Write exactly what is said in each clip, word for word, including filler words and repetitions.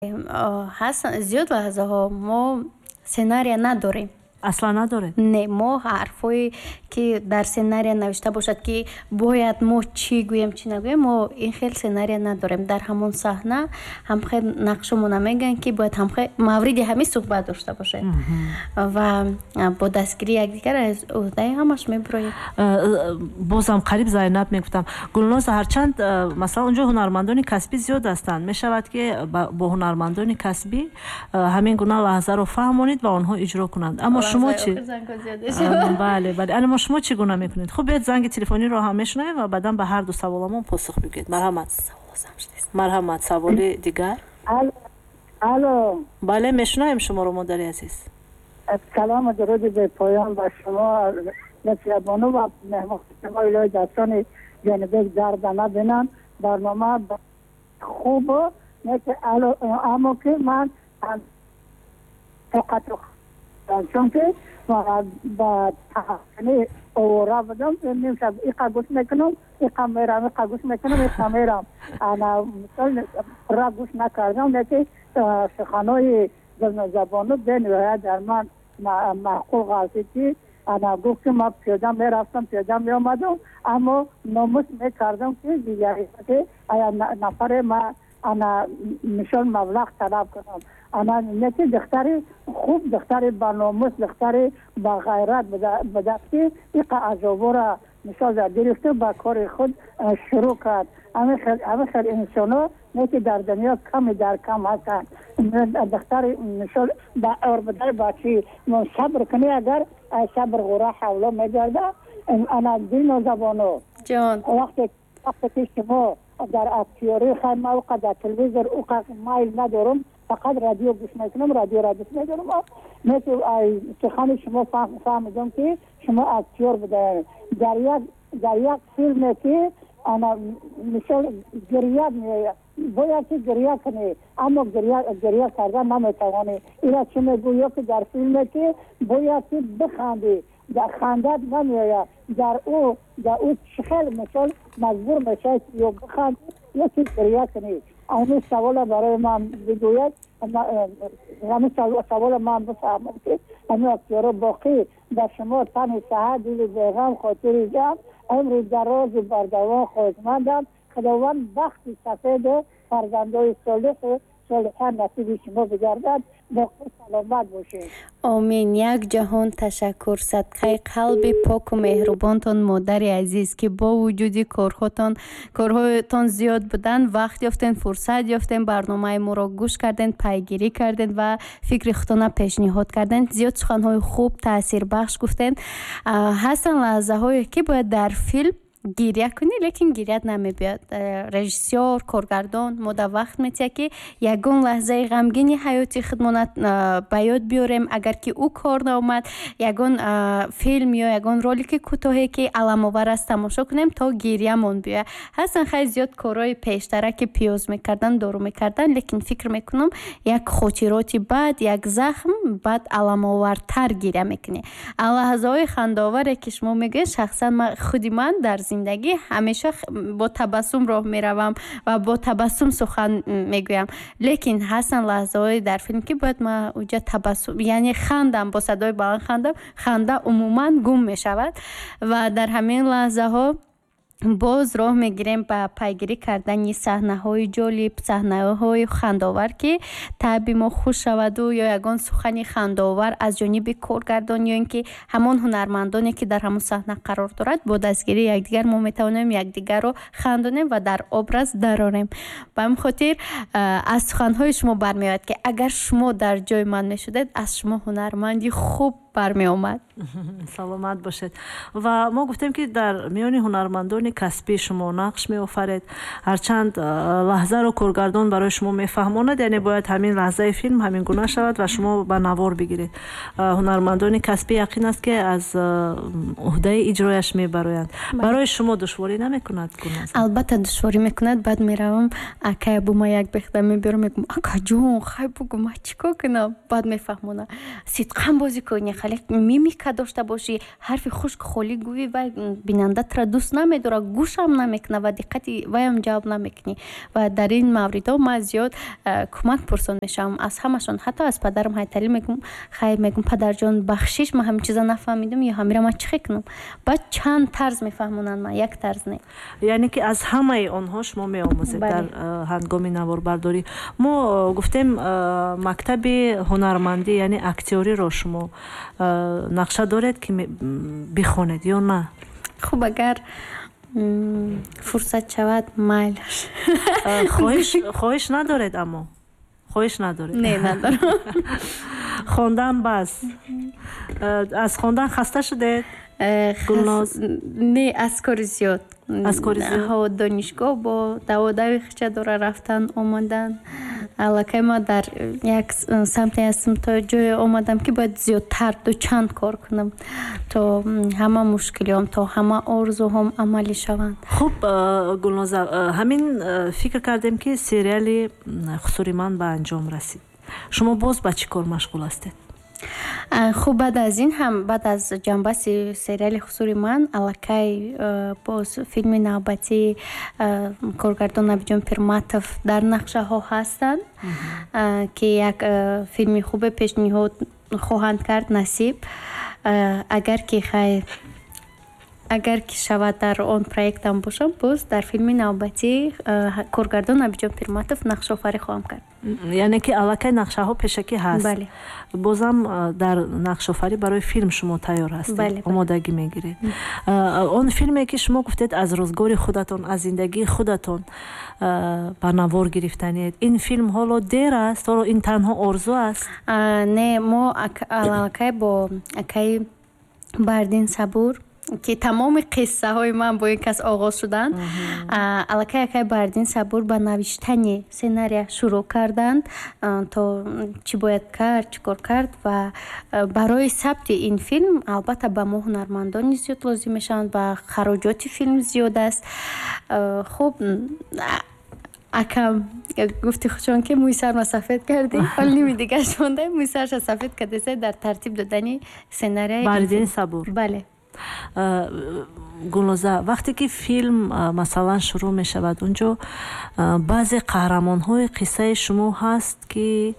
Ҳастанд зиёд лаҳзаҳо, мо сценария надорем. Аслан надоред? Не, мо ҳарфҳое, ки дар сценария навишта бошад, ки бояд мо чӣ гӯем, чӣ нагӯем, мо ин хел сценария надорем. Дар ҳамон саҳна ҳамхел нақшомона мегӯянд, ки бояд ҳамхел мавриди ҳамин суҳбат дошта бошед, ва бо дастгирии якдигар аз ӯҳдаи ҳамаш мебуроем. Бозам қариб Зайнаб мегуфтам. Гулноза, ҳарчанд, масалан, онҷо ҳунармандони касбӣ зиёд ҳастанд, мешавад, ки бо ҳунармандони касбӣ ҳамин гуна лаҳзаро фаҳмонед ва онҳо иҷро кунанд. Аммо шумо чӣ? Бале, бале, аммо шумо чӣ гуна мекунед? Хуб, биёед, занги телефониро ҳам мешунавем ва баъдан ба ҳар ду саволамон посух бигӯед. Марҳамат, марҳамат, саволи дигар. Алло. Бале, мешунавем шуморо, модари азиз. Салому дуруди бепоён ба шумо, Насиябону, ва меҳмон шумо. Илоҳи дастони Ҷонибек дарда набинанд. Барнома хуб, аммо ки ман тоқату, чунки ба таҳсини овора будам, нимшаб иқа гӯш мекунам, иқа мерам, иқа гӯш мекунам, иқа мерам. Ана мисол пурра гӯш накардам, леки суханои Гулнозабону бениҳоят дар ман маъқул ғалтид, ки ана гуфт, ки ман пиёда мерафтам, пиёда меомадам, аммо номус мекардам, ки ки ая нафаре ма ана мисол маблағ талаб кунам. Ана неки духтари хуб, духтари баномус, духтари бағайрат будааст, ки иқа азобора мисол гирифту ба кори худ шурӯъ кард. Ҳамин хел инсоно неки дар дунё ками дар кам ҳастанд. Духтари мисол ба орбудаи бачи сабр кунӣ, агар сабр ғура ҳавло мегардад. Ана Дилнозабоно, вақте вақте ки шумо дар актёрӣ, хай, ма уқа дар телевизор уқа майл надорам, фақат радио гӯш мекунам, радиоро дӯст медорам. Неки сухани шумо фаҳмидам, ки шумо актёр будаед. Дар як дар як филме, ки ана мисол гирья меояд, бояд ки гирья кунӣ, аммо гирья кардан наметавонӣ. Ира чӣ мегӯ? Ё ки дар филме, ки бояд ки бихандӣ, хандат намеояд, дар ӯ дар ӯ чӣ хел мисол маҷбур мешавед, ё бихандӣ, ё ки гирья кунӣ? Ҳамин савола барои ман бигӯяд, ҳамин савола ман бифаҳмам, ки ҳамин актёро. Боқӣ ба шумо тани саҳат, дили беғам, хотири ҷамъ, умри дарозу бардавом хоҳишмандам. Худованд бахти сафеду фарзандои солиҳу солиҳа насиби шумо бигардад. Боқӣ саломат бошед. Омин. Як ҷаҳон ташаккур, садқаи қалби поку меҳрубонтон, модари азиз, ки бо вуҷуди корҳотон корҳоятон зиёд будан, вақт ёфтен, фурсат ёфтен, барномаи моро гӯш карден, пайгирӣ карден ва фикри худтона пешниҳод карден. Зиёд суханҳои хуб, таъсирбахш гуфтен. Ҳастанд лаҳзаҳое, ки бояд дар филм гирья кунӣ, лекин гирьят намебиёд. э, режиссёр, коргардон мода вақт метиҳад, ки ягон лаҳзаи ғамгини ҳаёти худмона э, ба ёд биёрем. Агар ки ӯ кор наомад, ягон э, филм ё ягон ролики кӯтоҳе, ки аламовар аст, тамошо кунем, то гирьямон биёяд. Ҳастанд, хеле зиёд корҳои пештара, ки пиёз мекардан, дору мекардан, лекин фикр мекунам, як хотироти бад, як захм баъд аламовартар гирья мекунӣ. А лаҳзаҳои хандаоваре, ки шумо мегӯед, шахсан худи ман дар зиндагӣ ҳамеша бо табассум роҳ меравам ва бо табассум сухан мегӯям, лекин ҳастанд лаҳзаҳое дар филм, ки бояд ман уҷа табассум, яъне хандам, бо садои баланд хандам, ханда умуман гум мешавад. Ва дар ҳамин лаҳзаҳо боз роҳ мегирем ба пайгирӣ кардани саҳнаҳои ҷолиб, саҳнаҳои хандаовар, ки таъби мо хуш шаваду ё ягон сухани хандаовар аз ҷониби коргардон ё ин ки ҳамон ҳунармандоне, ки дар ҳамон саҳна қарор дорад. Бо дастгирии якдигар мо метавонем якдигарро хандонем ва дар образ дарорем. Ба ҳамин хотир аз суханҳои шумо бармеояд, ки агар шумо дар ҷои ман мешудед, аз шумо ҳунарманди хуб бармеомад. Саломат бошед. Ва мо гуфтем, ки дар миёни ҳунармандони касбӣ шумо нақш меофаред. Ҳарчанд лаҳзаро коргардон барои шумо мефаҳмонад, яъне бояд ҳамин лаҳзаи филм ҳамин гуна шавад ва шумо ба навор бигиред, ҳунармандони касбӣ яқин аст, ки аз уҳдаи иҷрояш мебароянд. Барои шумо душворӣ намекунад? Албатта, душворӣ мекунад. Баъд меравам, акай Абума як бехда мебиёрам, мегӯям: «Акаҷон, хай, бугӯ, ман чӣ кор кунам?» Баъд мефаҳмонад: «Сидқан бозӣ кун». хеле мимика дошта бошӣ. Ҳарфи хушк холӣ гӯӣ, вай бинанда тура дӯст намедорад, гӯшам намекунад ва диққати вайам ҷалб намекунӣ. Ва дар ин мавридҳо ман зиёд кӯмак пурсон мешавам аз ҳамашон, ҳатто аз падарам Ҳайталӣ. Мегӯм, хай, мегӯм, падарҷон, бахшиш, ман ҳамин чиза нафаҳмидам ё ҳамира ман чӣ хел кунам? Баъд чанд тарз мефаҳмонанд, ман як тарз не. Яъне ки аз ҳамаи онҳо шумо меомӯзед дар ҳангоми наворбардорӣ. Мо гуфтем, мактаби ҳунармандӣ, яъне актёриро шумо нақша доред ки бихонед ё на? Хуб, агар фурсат шавад, майлаш. Хоҳиш надоред, аммо хоҳиш надоред? Не, надорам. Хондан бас, аз хондан хаста шудед, Гулноз? Не, аз кори зиёд. Аз кори зиёд. Ҳо, донишгоҳ бо даводави хича дора, рафтан, омадан. Аллакай ман дар як самте ҳастам, то ҷое омадам, ки бояд зиёдтар дучанд кор кунам, то ҳама мушкилиҳом, то ҳама орзуҳом амалӣ шаванд. Хуб, Гулноза, ҳамин фикр кардем, ки сериали «Хусури ман» ба анҷом расид, шумо боз ба чӣ кор машғул ҳастед? Хуб, баъд аз ин ҳам, баъд аз ҷанбаси сериали «Хусури ман», аллакай боз филми навбатии коргардон Набиҷон Пирматов дар нақшаҳо ҳастанд, ки як филми хубе пешниҳод хоҳанд кард, насиб. Агар ки хай, агар ки шавад, дар он проектам бошам, боз дар филми навбатии коргардон Набиҷон Пирматов нақшофарӣ хоҳам кард. Яъне ки аллакай нақшаҳо пешакӣ ҳаст? Бале. Бозам дар нақшофарӣ барои филм шумо тайёр ҳастед, омодагӣ мегиред. Он филме ки шумо гуфтед, аз рӯзгори худатон, аз зиндагии худатон ба навор гирифтанед, ин филм ҳоло дер аст, ҳоло ин танҳо орзу аст? Не, мо аллакай бо акаи Бардин Сабур, ки тамоми қиссаҳои ман бо ин кас оғоз шуданд, аллакай акай Бардин Сабур ба навиштани сценария шурӯъ карданд, то чӣ бояд кард, чӣ кор кард. Ва барои сабти ин филм албатта ба мо ҳунармандони зиёд лозим мешаванд ва хароҷоти филм зиёд аст. Хуб, акам гуфти худшон, ки мӯи сарма сафед кардӣ, ҳол ними дигараш монда, мӯи сарша сафед кардеса дар тартиб додани сценария. Бардини Сабур? Бале. Гулноза, вақте ки филм масалан шурӯъ мешавад, унҷо баъзе қаҳрамонҳои қиссаи шумо ҳаст, ки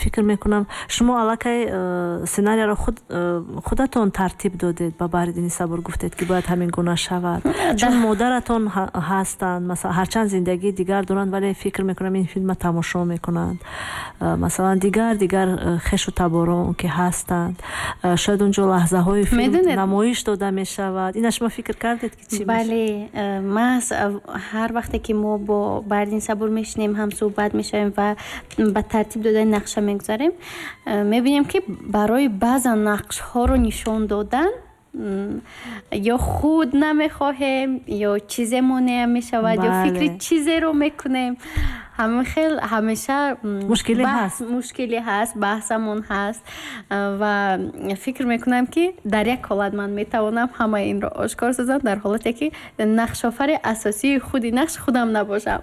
фикр мекунам, шумо аллакай сценарияро худатон тартиб додед, ба Баҳриддини Сабур гуфтед, ки бояд ҳамин гуна шавад, чун модаратон ҳастанд, масалан, ҳарчанд зиндагии дигар доранд, вале фикр мекунам, ин филма тамошо мекунанд, масалан, дигар дигар хешу таборон ки ҳастанд, шояд унҷо лаҳзаҳои филм намоиш дода мешавад. Ина шумо фикр кардед, ки чӣ? Бале, маҳз ҳар вақте ки мо бо Баҳриддин Сабур мешинем, ҳамсӯҳбат мешавем ва ба тартиб додани нақша мегузарем, мебинем, ки барои баъзан нақшҳоро нишон додан ё худ намехоҳем, ё чизе монеа мешавад, ё фикри чизеро мекунем. Ҳамин хел ҳамеша мушкилӣ ҳаст. Мушкилӣ ҳаст, баҳсамон ҳаст. Ва фикр мекунам, ки дар як ҳолат ман метавонам ҳамаи инро ошкор созам, дар ҳолате ки нақшофари асосии худи нақш худам набошам.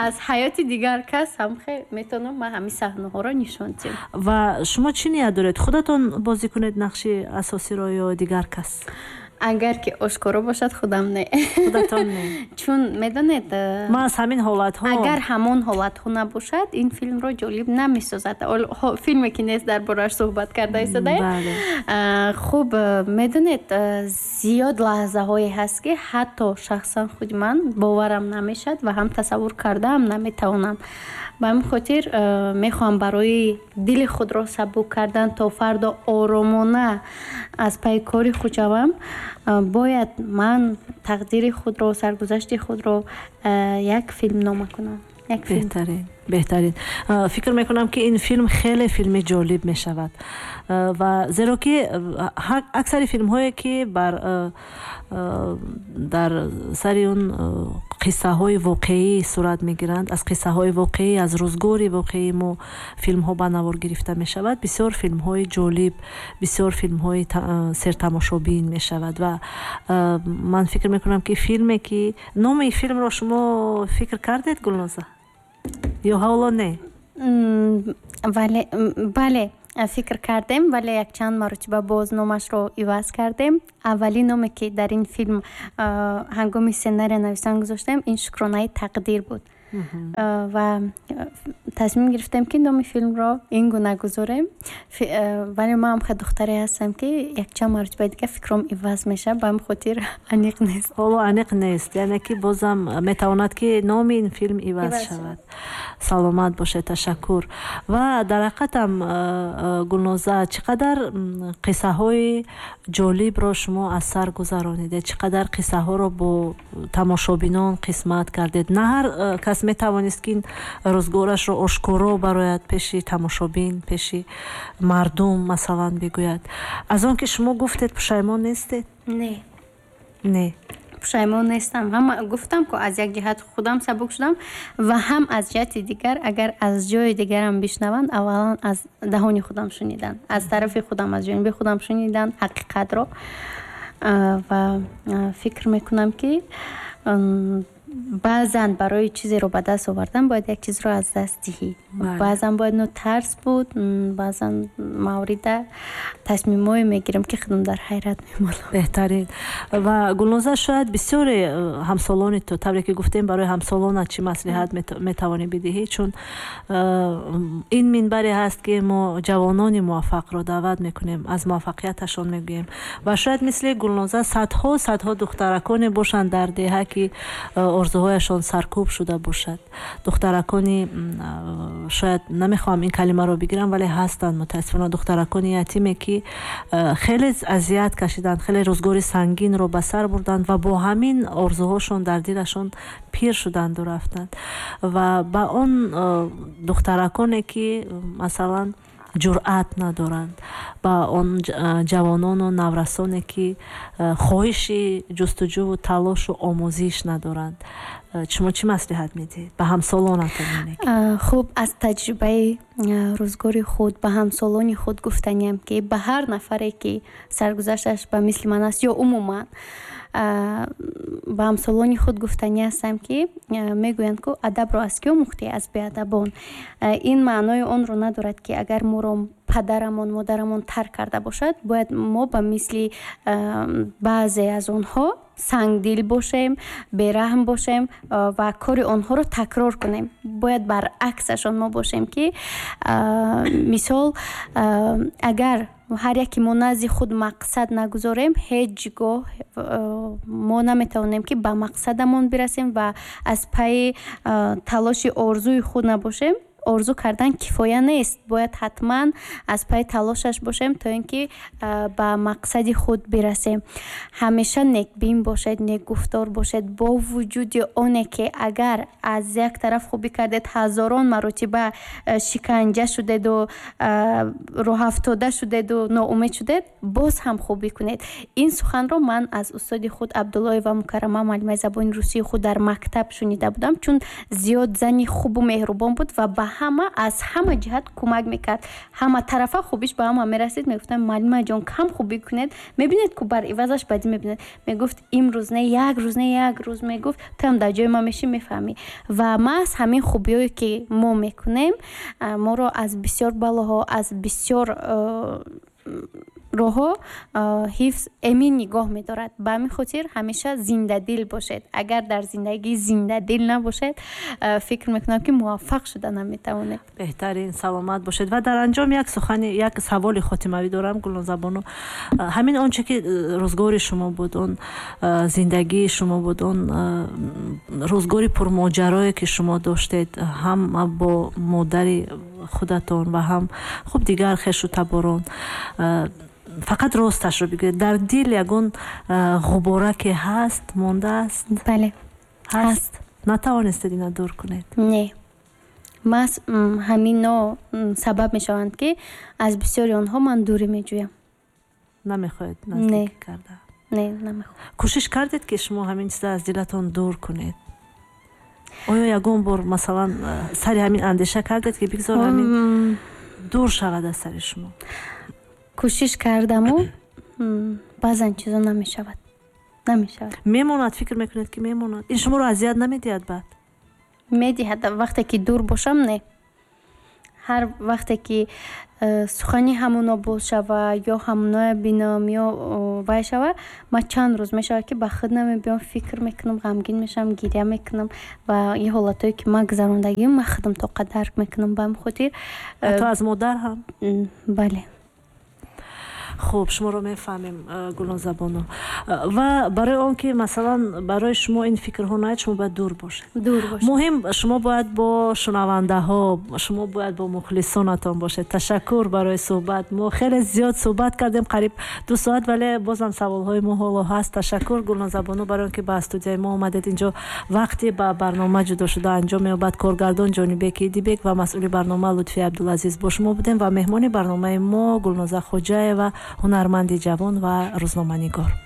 Аз ҳаёти дигар кас ҳам метавонам ман ҳамин саҳнаҳоро нишон диҳам. Ва шумо чӣ ният доред, худатон бозӣ кунед нақши асосиро ё дигар кас? Агар ки ошкоро бошад, худам не. Худатон не? Чун медонед, ман аз ҳамин ҳолатҳо. Агар ҳамон ҳолатҳо набошад, ин филмро ҷолиб намесозад. Филме ки нест, дар борааш суҳбат карда истодаем. Хуб, медонед, зиёд лаҳзаҳое ҳаст, ки ҳатто шахсан худи ман боварам намешавад ва ҳам тасаввур кардаам наметавонам. Ба ҳамин хотир мехоҳам барои дили худро сабук кардан, то фардо оромона аз пайи кори худ шавам, бояд ман тақдири худро, саргузашти худро як филмнома кунам. Беҳтарин, беҳтарин. Фикр мекунам, ки ин филм хеле филми ҷолиб мешавад, ва зеро ки аксари филмҳое ки бар дар сари он қиссаҳои воқеӣ сурат мегиранд, аз қиссаҳои воқеӣ, аз рӯзгори воқеии мо филмҳо ба навор гирифта мешавад, бисёр филмҳои ҷолиб, бисёр филмҳои сертамошобин мешавад. Ва ман фикр мекунам, ки филме ки номи филмро шумо фикр кардед, Гулноза, ё ҳоло не? Вале бале, фикр кардем, вале якчанд маротиба боз номашро иваз кардем. Аввалин номе, ки дар ин филм ҳангоми сценария навиштан гузоштем, ин «Шукронаи тақдир» буд ва тасмим гирифтем, ки номи филмро ин гуна гузорем. Вале ман ҳам духтаре ҳастам, ки якчанд маротибаи дигар фикром иваз мешавад, ба ҳамин хотир аниқ нест. Ҳоло аниқ нест, яъне ки бозам метавонад, ки номи ин филм иваз шавад. Саломат бошед, ташаккур. Ва дар ҳақиқатам, Гулноза, чӣ қадар қиссаҳои ҷолибро шумо аз сар гузаронидед, чӣ қадар қиссаҳоро бо тамошобинон қисмат кардед. На ҳар кас метавонист, ки ин рӯзгорашро ошкоро барояд, пеши тамошобин, пеши мардум, масалан, бигӯяд. Аз он ки шумо гуфтед, пушаймон нестед? Не. Не? Пушаймон нестам. Ҳама гуфтам, ку аз як ҷиҳат худам сабук шудам ва ҳам аз ҷиҳати дигар, агар аз ҷои дигарам бишнаванд, аввалан аз даҳони худам шунидан, аз тарафи худам, аз ҷониби худам шунидан ҳақиқатро. Ва фикр мекунам, ки баъзан барои чизеро ба даст овардан бояд як чизро аз даст диҳӣ. Баъзан бояд нотарс буд, баъзан маврида тасмимое мегирам, ки худам дар ҳайрат мемонам. Беҳтарин. Ва, Гулноза, шояд бисёре э, ҳамсолони ту, тавре ки гуфтем, барои ҳамсолонат чӣ маслиҳат метавонӣ бидиҳӣ? Чун э, ин минбаре ҳаст, ки мо ҷавонони муваффақро даъват мекунем, аз муваффақияташон мегӯем. Ва шояд мисли Гулноза садҳо садҳо духтараконе бошанд дар деҳа, ки э, орзуҳояшон саркӯб шуда бошад. Духтаракони, шояд намехоҳам ин калимаро бигирам, вале ҳастанд, мутаассифона, духтаракони ятиме, ки хеле азият кашиданд, хеле рӯзгори сангинро ба сар бурданд ва бо ҳамин орзуҳошон дар дилашон пир шуданду рафтанд. Ва ба он духтараконе, ки масалан ҷуръат надоранд, ба он ҷавонону наврасоне, ки хоҳиши ҷустуҷӯву талошу омӯзиш надоранд, шумо чӣ маслиҳат медиҳед ба ҳамсолонатон? Хуб, аз таҷрибаи рӯзгори худ ба ҳамсолони худ гуфтаниям, ки ба ҳар нафаре, ки саргузашташ ба мисли ман аст ё умуман ба ҳамсолони худ гуфтанӣ ҳастам, ки мегӯянд, ку адабро аз кӣ омӯхтӣ? Аз беадабон. Ин маънои онро надорад, ки агар моро падарамон, модарамон тарк карда бошад, бояд мо ба мисли баъзе аз онҳо сангдил бошем, бераҳм бошем ва кори онҳоро такрор кунем. Бояд баръаксашон мо бошем, ки мисол, агар ҳар яке мо назди худ мақсад нагузорем, ҳеҷ гоҳ мо наметавонем, ки ба мақсадамон бирасем ва аз пайи талоши орзуи худ набошем. Орзу кардан кифоя нест, бояд ҳатман аз пайи талошаш бошем, то ин ки ба мақсади худ бирасем. Ҳамеша некбин бошед, некгуфтор бошед. Бо вуҷуди оне ки агар аз як тараф хубӣ кардед, ҳазорон маротиба шиканҷа шудеду, роҳафтода шудеду, ноумед шудед, боз ҳам хубӣ кунед. Ин суханро ман аз устоди худ Абдуллоева Мукаррама, муаллимаи забони русии худ дар мактаб шунида будам, чун зиёд зани хубу меҳрубон буд ва ба ҳама аз ҳама ҷиҳат кӯмак мекард. Ҳама тарафа хубиш ба ҳама мерасид. Мегуфтам: «Муаллимаҷон, кам хубӣ кунед, мебинед, ку бар ивазаш бадӣ мебинед». Мегуфт: «Имрӯз не, як рӯз не, як рӯз, — мегуфт, — туам дар ҷои ман мешӣ, мефаҳмӣ». Ва маҳз ҳамин хубиҳое, ки мо мекунем, моро аз бисёр балоҳо, аз бисёр роҳҳо ҳифз, эмин нигоҳ медорад. Ба ҳамин хотир ҳамеша зиндадил бошед. Агар дар зиндагӣ зиндадил набошед, фикр мекунам, ки муваффақ шуда наметавонед. Беҳтарин, саломат бошед. Ва дар анҷом як сухани, як саволи хотимавӣ дорам, Гулнозабону. Ҳамин он че ки рӯзгори шумо буд, он зиндагии шумо буд, он рӯзгори пурмоҷарое, ки шумо доштед, ҳам бо модари худатон ва ҳам хуб дигар хешу таборон, фақат росташро бигӯед, дар дил ягон ғубораке ҳаст, мондааст? Бале. Ҳаст. Натавонистед ина дур кунед? Не, маҳз ҳамино сабаб мешаванд, ки аз бисёри онҳо ман дурӣ меҷӯям. Намехоҳед наздикӣ карда? Не, намехоҳам. Кӯшиш кардед, ки шумо ҳамин чиза аз дилатон дур кунед? Оё ягон бор, масалан, сари ҳамин андеша кардед, ки бигзор ҳамин дур шавад аз сари шумо? Кӯшиш кардаму баъзан чизо намешавад, намешавад. Мемонад, фикр мекунед, ки мемонад? Ин шуморо азият намедиҳад баъд? Медиҳад. Вақте ки дур бошам, не. Ҳар вақте ки э, сухани ҳамуно боз шава ё ҳамуноя бинам ё вай шава, ман чанд рӯз мешавад, ки ба худ намебиём, фикр мекунам, ғамгин мешавам, гиря мекунам ва ин ҳолатҳое, ки ман гузарондагиам, ман худам тоқа дарк мекунам. Ба ҳамин хотир э, ҳатто аз модар ҳам? Бале. Хуб, шуморо мефаҳмем, э, Гулнозабону. э, ва барои он ки, масалан, барои шумо ин фикрҳо наяд, шумо бояд дур бошед. Дур бошед. Муҳим, шумо бояд бо шунавандаҳо, шумо бояд бо мухлисонатон бошед. Ташаккур барои суҳбат. Мо хеле зиёд суҳбат кардем, қариб ду соат, вале бозам саволҳои мо ҳоло ҳаст. Ташаккур, Гулнозабону, барои он ки ба студияи мо омадед. Инҷо вақте ба барнома ҷудо шуда анҷом меёбад. Коргардон Ҷонибек Идибек ва масъули барнома Лутфи Абдулазиз бо шумо будем ва меҳмони барномаи мо Гулноза Хоҷаева, ҳунарманди ҷавон ва рӯзноманигор.